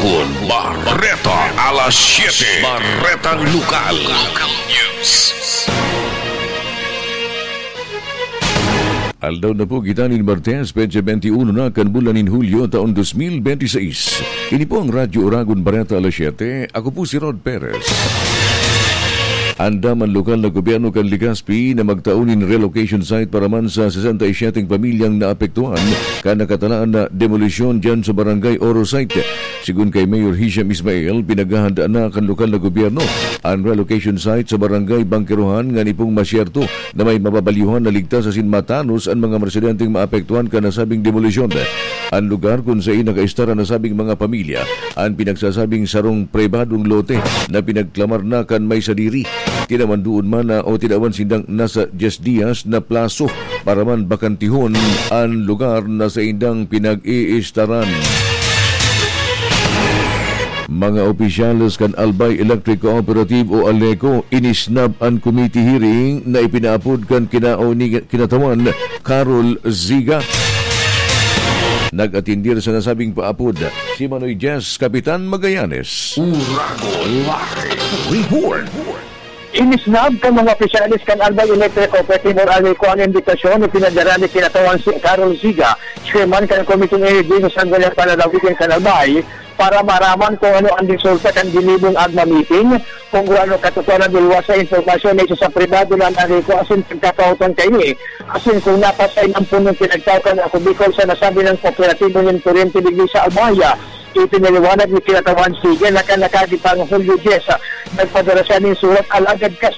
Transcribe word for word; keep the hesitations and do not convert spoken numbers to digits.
Kun Bareta alas siyete, Baretang Lokal. Local News. Aldaw na po kita nin Martes, petsa twenty-one na kan bulan nin Hulyo, taon dos mil benti seis. Ini po ang Radyo Oragon Bareta alas siyete. Ako po si Rod Perez. Andam an lokal na gobyerno kan Legazpi na magtao nin relocation site para man sa sesenta y siyete pamilyang naapektuhan kan nakatalaan na demolisyon diyan sa Barangay Oro Site. Sigon kay Mayor Hisham Ismail, pinaghahandaan na kan lokal na gobyerno an relocation site sa Barangay Bangkerohan, ngani pong masyerto na may mababaliwan na ligtas asin matanos an mga residenteng maapektuhan kan nasabing demolisyon. An lugar kun sain nakaistar an nasabing mga pamilya, an pinagsasabing sarong pribadong lote na pinagklamar na kan may sadiri. Tinawan duon man na o tinawan sindang nasa dyes dias na plaso para man bakantihon an lugar na saindang pinag-iistaran. Mga opisyales kan Albay Electric Cooperative o ALECO inisnab an committee hearing na ipinaapod kan kinao ni kinatawan Carol Ziga. Nag-atindir sa nasabing paapod si Manoy Jess Kapitan Magallanes. Uragon Live Report. Inisnab kan mga opisyales kan Albay Electric Cooperative or ALECO an imbitasyon na pinadara ni kinatawan si Carol Ziga, chairman kan Committee on Energy sa Sangguniang Panlalawigan kan Albay, para maaraman kung ano ang resulta kan ginibong AGMA meeting, kung ano katotohanan an liwat sa impormasyon na isa sa pribado na ALECO asin pagkakaotan kaini, asin kung napasay man punong pinagtao kan ALECO Bicol sa nasabi na kooperatiba nin kuryente digdi sa Albay. Ipinaliwanag ni kinatawan Ziga na kan nakagipang Hulyo diyes, nagpadara siya nin surat alagad kas